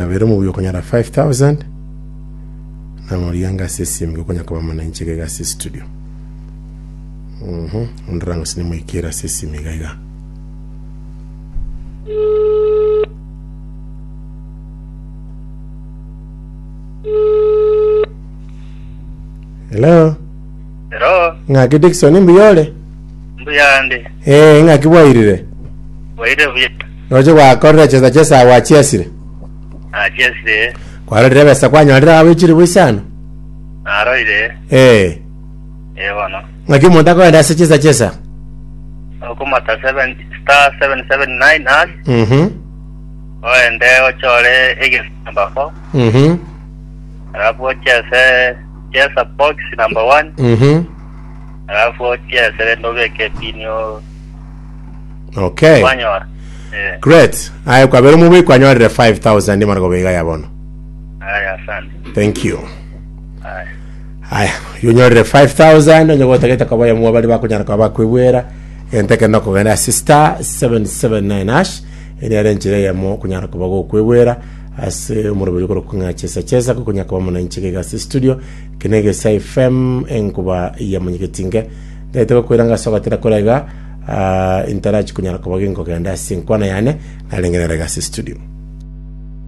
Nabere omobuya okonyora 5000 namorigia anga ase esimi gokonya koba mono inche iga ase studio. Mhm, ondora ng'o sinimoikere ase esimi iga iga. Hello, Hello, ng'aki Dickson mbuya ore? mbuya ndi. Eh, ng'aki bwairire? Bwairire buya. Roche gwakorire chesa chesa gwachiesire. Nachiesire. Kwarorire ebesa kwanyorire abwo echilifu isano. Naroire. Eh. Eh bono. Ng'aki omonto akogenda ase chesa chesa. Okomata 7 star 779 hash. Mhm. Oende ochore egesi number 4. Mhm. Alafu ochese chesa box number 1. Mhm. Alafu ochiese rende obeke epini o Okay. kwanyora. Eh. Great. Aye kwabera omobui kwanyorire 5000 mara goba ya bono. Aya asante. Thank you. Aya. Aya, yonyorire 5000 onye gotagete koba yamwa bari bakonyara koba bakwebwera egento ekero nokogenda ase star 779 hash eri are enchera eyemo okonyara koba gokwebwera ase omoroberi okorokwa ng'a chesa chesa gokonya koba mono inche iga ase studio eke na egesa FM enkuba ya monyegetinge Ntaete gokoira ng'a ase ogotera kore iga, ah, intarachi konyara koba ginkogenda ase enkwana yane, narenge nere iga ase studio.